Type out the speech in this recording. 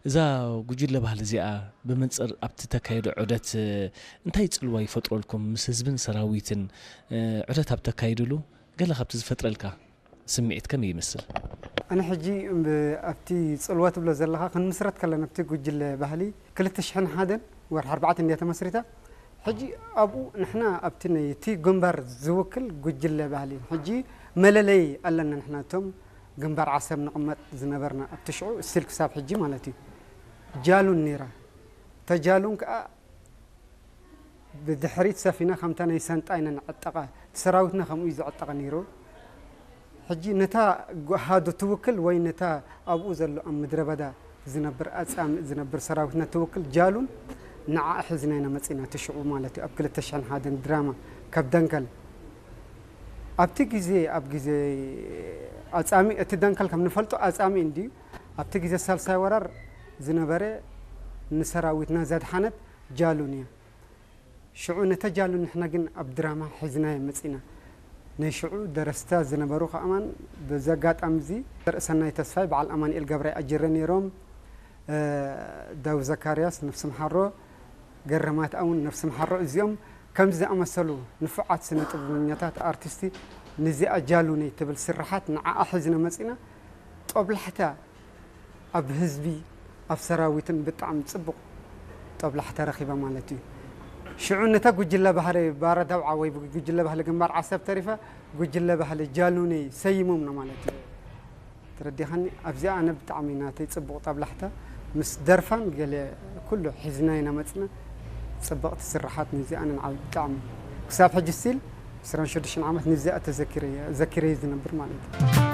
እዛ ጉጅለ ባህሊ እዚኣ ብመንፅር ኣብቲ ተካየዶ ዑደት እንታይ ፅልዋ ይፈጥረልኩም? ምስ ህዝብን ሰራዊትን ዑደት ኣብ ተካይድሉ ገለ ካብቲ ዝፈጥረልካ ስምዒት ከመይ ይመስል? ኣነ ሕጂ ኣብቲ ፅልዋ ትብሎ ዘለኻ ክንምስረት ከለና ኣብቲ ጉጅለ ባህሊ ክልተ ሽሕን ሓደን ወርሒ ኣርባዕተ እንድያ ተመስሪታ። ሕጂ ኣብኡ ንሕና ኣብቲ ነቲ ግንባር ዝውክል ጉጅለ ባህሊ ሕጂ መለለይ ኣለና። ንሕና እቶም ግንባር ዓሰብ ንቕመጥ ዝነበርና ኣብቲ ሽዑ ስቲል ክሳብ ሕጂ ማለት እዩ ጃሉን ነይራ። ተጃሉን ከዓ ብድሕሪት ሰፊና ከምታ ናይ ሰንጣ ኢና ንዕጠቓ። እቲ ሰራዊትና ከምኡ እዩ ዝዕጠቐ ነይሩ። ሕጂ ነታ ሃዱ ትውክል ወይ ነታ ኣብኡ ዘሎ ኣብ ምድረ በዳ ዝነብር ኣጻምእ ዝነብር ሰራዊትና ትውክል ጃሉን ንዓ ሒዝና ኢና መጺና። እቲ ሽዑ ማለት እዩ ኣብ ክልተ ሽሕን ሓደን ድራማ ካብ ደንከል ኣብቲ ግዜ ኣብ ግዜ ኣጻምእ እቲ ደንከል ከም ንፈልጦ ኣጻምእ እንድዩ ኣብቲ ግዜ ሳልሳይ ወራር ዝነበረ ንሰራዊትና ዘድሓነት ጃሉን እያ። ሽዑ ነተ ጃሉን ንሕና ግን ኣብ ድራማ ሒዝናዮ መጺና። ናይ ሽዑ ደረስታ ዝነበሩ ከኣማን በዚ ኣጋጣሚ እዚ ርእሰናይ ተስፋይ በዓል ኣማኑኤል ገብራይ ኣጅረ ነይሮም። ዳዊት ዘካርያስ ነፍሲ ምሓሮ፣ ገረማት ኣውን ነፍሲ ምሓሮ። እዚኦም ከምዚ ዝኣመሰሉ ንፉዓት ስነ ጥበበኛታት ኣርቲስቲ ንዚኣ ጃሉነይ ትብል ስርሓት ንዓኣ ሒዝና መጺና። ጦብላሕታ ኣብ ህዝቢ ኣብ ሰራዊትን ብጣዕሚ ጽቡቕ ጦብላሕታ ረኺባ ማለት እዩ። ሽዑ ነታ ጉጅለ ባህሪ ባረ ዳውዓ ወይ ጉጅለ ባህሊ ግንባር ዓሰብ ተሪፋ ጉጅለ ባህሊ ጃሉነይ ሰይሞምና ማለት እዩ። ተረዲኻኒ? ኣብዚኣ ኣነ ብጣዕሚ ናተይ ጽቡቕ ጣብላሕታ ምስ ደርፋን ገለ ኩሉ ሒዝና ኢና መጽና። ጽብቕቲ ስርሓት ንዚኣ ንዓብ ብጣዕሚ ክሳብ ሕጂ ስቲል ዕስራን ሽዱሽተን ዓመት ንዚኣ ተዘኪረ ዘኪረ ዝነብር ማለት እዩ።